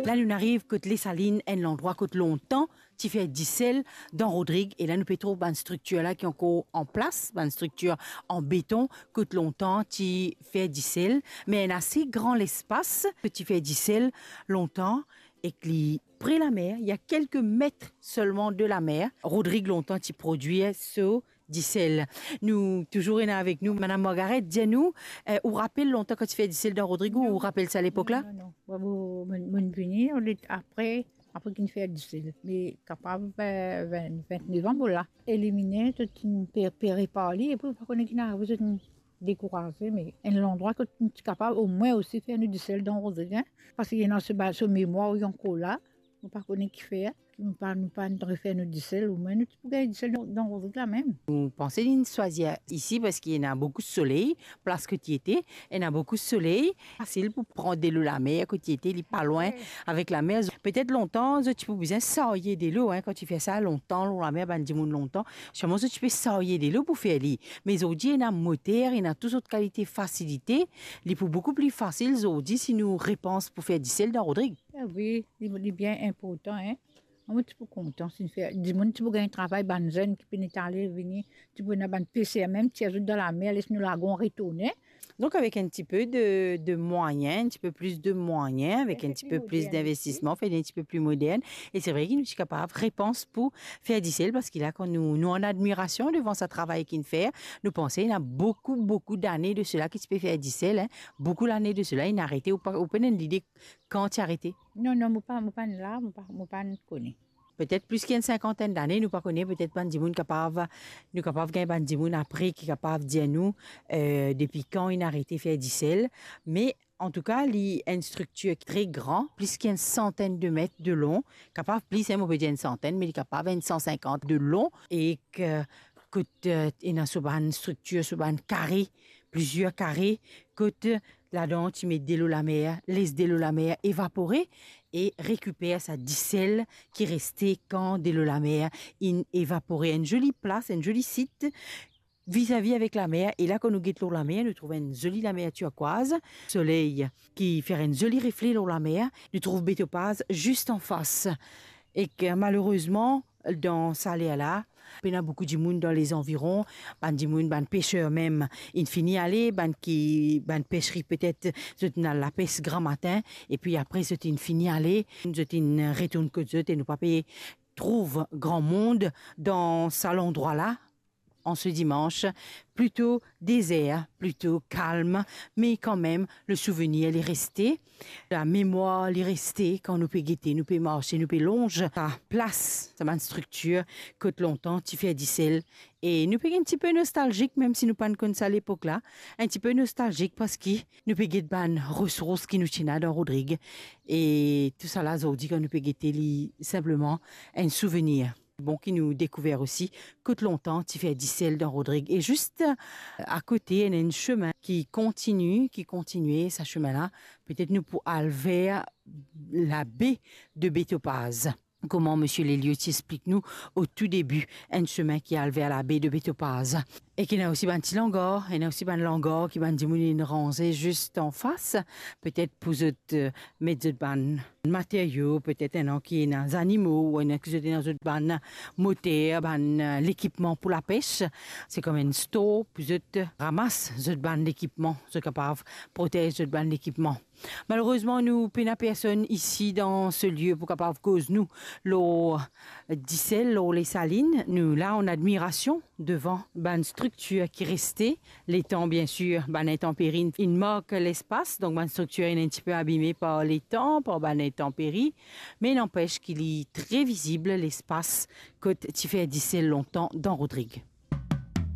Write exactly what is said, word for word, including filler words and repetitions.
La, nou ariv kot Lesalinn, enn landrwa kot lontan ti fer disel dan Rodrig, e la nou pe trouv bann striktir la ki ankor an plas, bann striktir an beton kot lontan ti fer disel, me enn ase gran lespas kot ti fer disel lontan, ek li pre lamer, li a kelke met selman de lamer. Rodrig lontan ti prodwir so disel. Nou touzour ena avek nou Madam Margaret. Dir nou, eh, ou rapel lontan kan ti fer disel dan Rodrig, ou rapel sa lepok la? Non, non, non. Bon, bon, mo, mo vini, on est après, après ki fer disel. Me kapav, eh, vin, vintnef an, bon la. Elimine, to ti pe, pe repar li, epi pa kone ki ena arive, to ti dekouraze, me enn landrwa kot nou ti kapav omwin osi fer nou disel dan Rodrig, en. Parski ena so ba-, so memwar li ankor la, nou pa kone ki fer, nou pa, nou pa refer nou disel, omwin nou ti pou gagn disel dan, dan Rodrig la mem. Nou panse linn swazir isi parski ena boukou soley, plas kot li ete, ena boukou soley, fasil pou pran delo lamer kot li ete, li pa lwin avek lamer. Petet lontan, zot ti pou bizin sarye delo, en, kan ti fer sa lontan, lor lamer, bann dimoun lontan, selman zot ti pe sarye delo pou fer li. Me zordi, ena moter, ena tou sort kalite fasilite, li pou boukou pli fasil zordi si nou repans pou fer disel dan Rodrig. Ah wi, li, li bien inportan, en. Mo ti pou kontan si nou fer, dimoun ti pou gagn travay, bann zenn ki pena ale vini, ti pou ena bann peser mem, tir zot dan lamer, les nou lagon retourne. Donk, avek enn tipe de, de mwayin, enn tipe plis de mwayin, avek enn tipe plis dinvestisman, fer enn tipe pli modern. E se vre ki nou ti kapav repans pou fer disel, parski la, kan nou, nou an admirasion devan sa travay ki'nn fer, nou panse ena boukou, boukou dane de sela ki ti pe fer disel, en. Boukou lane de sela, inn arete, ou pa, ou pena enn lide kan ti arete? Non, non, mo pa, mo pa la, mo pa, mo pa kone. Petet plis ki enn sinkantenn dane, nou pa kone, petet bann dimoun kapav, nou kapav gagn bann dimoun apre ki kapav dir nou, eh, depi kan inn arete fer disel. Me antouka, li enn striktir tre gran, plis ki enn santenn de met de lon, kapav plis, en, mo pe dir enn santenn, me li kapav enn san sinkant de lon, e ki, kot, eh, ena so bann striktir, so bann kare, plizier kare, kot ladan ti met delo lamer, les delo lamer evapore e rekiper sa disel ki reste kan delo lamer inn evapore. Enn zoli plas, enn zoli sit, vizavi avek lamer. E la, kan nou get lor lamer, nou trouv enn zoli lamer tirkwaz, soley ki fer enn zoli refle lor lamer. Nou trouv Be Topaz zis anfas. Ek, malerezman, dan sa ler la, pena boukou dimoun dan lezanviron, bann dimoun, bann peser mem, inn fini ale, bann ki, bann pesri petet, zot inn al lapes gramatin, epi apre zot inn fini ale, zot inn retourn kot zot e nou pa pe trouv gran mond dan sa landrwa la, an se dimans, plito dezer, plito kalm, me kanmem, le souvenir li reste, lamemwar li reste kan nou pe gete, nou pe marse, nou pe lonz sa plas, sa bann striktir kot lontan ti fer disel. E nou pe enn tipe nostalzik, mem si nou pa'nn konn sa lepok la, enn tipe nostalzik parski nou pe get bann resours ki nou ti ena dan Rodrig. E tousala zordi, kan nou pe gete li, sinpleman enn souvenir. Bon ki nou dekouver osi kot lontan ti fer disel dan Rodrig. E zis akote, ena enn semin ki kontini, ki kontinie sa semin la. Petet nou pou al ver labe de Be Topaz. Kouma misie Lelio ti explik nou o tou debi, enn semin ki al ver labe de Be Topaz. E ki ena osi bann ti langar, ena osi bann langar ki bann dimoun inn ranze zis anfas, petet pou zot, eh, met zot bann materio, petet ena ki ena zanimo, ou ena ki zot ena zot bann moter, bann, eh, lekipman pou lapes. Se kouma enn store pou zot ramas zot bann lekipman, zot kapav protez zot bann lekipman. Malerezman, nou pena personn isi dan se lie pou kapav koz nou lor disel, lor Lesalinn. Nou la an admirasion devan bann striktir ki reste. Letan, biensir, bann intanperi inn mark lespas, donk bann striktir inn enn tipe abime par letan, par bann intanperi, me nanpes ki li tre vizib lespas kot ti fer disel lontan dan Rodrig.